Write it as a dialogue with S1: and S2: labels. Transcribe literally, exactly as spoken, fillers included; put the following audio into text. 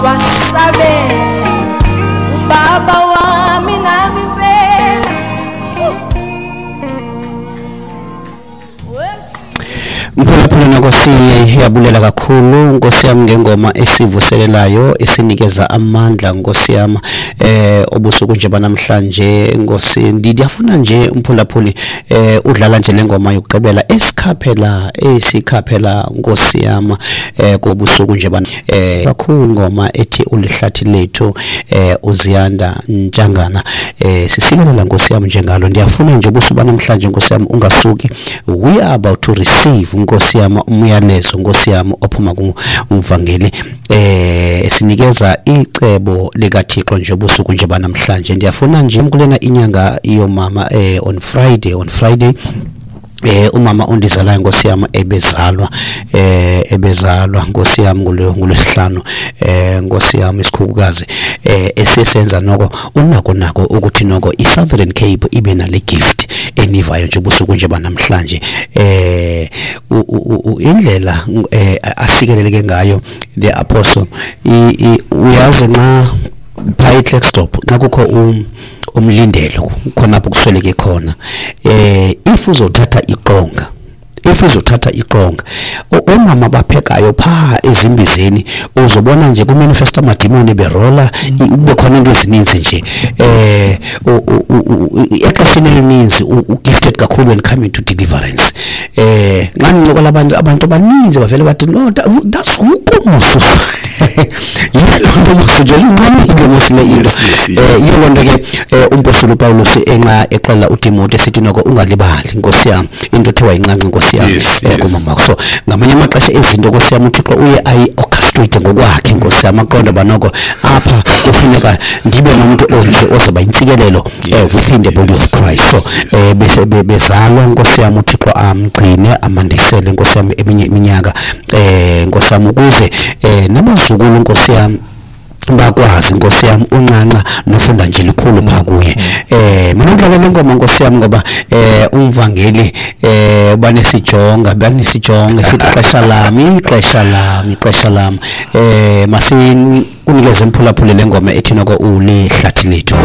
S1: Wasabela ubaba wami nami impela.
S2: Mphulaphula Nkosi, yabulela kakhulu Nkosi yami ngengoma esivuselelayo esinikeza amandla Nkosi yami eh obusuku nje banamhlanje Nkosi. Ndiyafuna nje umphulaphuli eh udlala nje lengoma yokugqibela esikhaphela esikhaphela Nkosi yami eh kobusuku nje ban eh kakhulu ngoma ethi ulihlathi lethu eh uZiyanda Ntshangana eh sisikelela Nkosi yami njengalo. Ndiyafuna nje ubusuku banamhlanje Nkosi yami ungasuki, we are about to receive Nkosi yami umyalezo Nkosi yami ophuma kumvangeli eh esinikeza icebo likaThixo nje ubusuku nje banamhlanje. Ndiyafuna nje kulena inyanga yomama eh on Friday on Friday eh umama ondizalayo Nkosi yami ebezalwa eh ebezalwa Nkosi yami ngolwesihlanu eh Nkosi yami isikhukukazi eh esisenza noko unako nako ukuthi noko iSouthern Cape ibe nale gift enivayo nje ubusuku nje banamhlanje eh indlela eh asikeleleke ngayo the apostle uyazi nxa pha eKlerksdorp nxa kukho umlindelo khona apho kusweleke khona eh if uzothatha iqonga if uzothatha iqonga omama baphekayo pha ezimbizeni uzobona nje ku manifesta amadimoni berola ube khona into ezininzi nje eh exesheni elininzi u-gifted kakhulu when coming to deliverance eh nxa ngincokola abantu abantu abaninzi bavele bathi no that's ukomusu yilo nto musu nje incane musu le into eh yiyo loo nto ke umpostoli uPawulos enxa exelela uTimothy esithi noko ungalibali Nkosi yami into ethiwa incanca Nkosi yami kumama. So ngamanye amaxesha izinto Nkosi yami uThixo uye ayi-orchestrate ngokwakhe Nkosi yami aqonda uba noko apha kufuneka ndibe nomuntu onje ozoba intsikelelo within the body of Christ. So eh bese bezalwa Nkosi yami uThixo amgcine amandisele Nkosi yami eminye iminyaka eh Nkosi yami ukuze eh nabazukulu Nkosi yami bakwazi Nkosi yami uncanca nofunda nje likhulu pha kuye eh mina ngidlala le ngoma Nkosi yami ngoba eh umvangeli eh banesijonga banesijonga sithi ixesha lami ixesha lami ixesha lami eh masikunikeze imphulaphule le ngoma ethi noko ulihlathi lethu.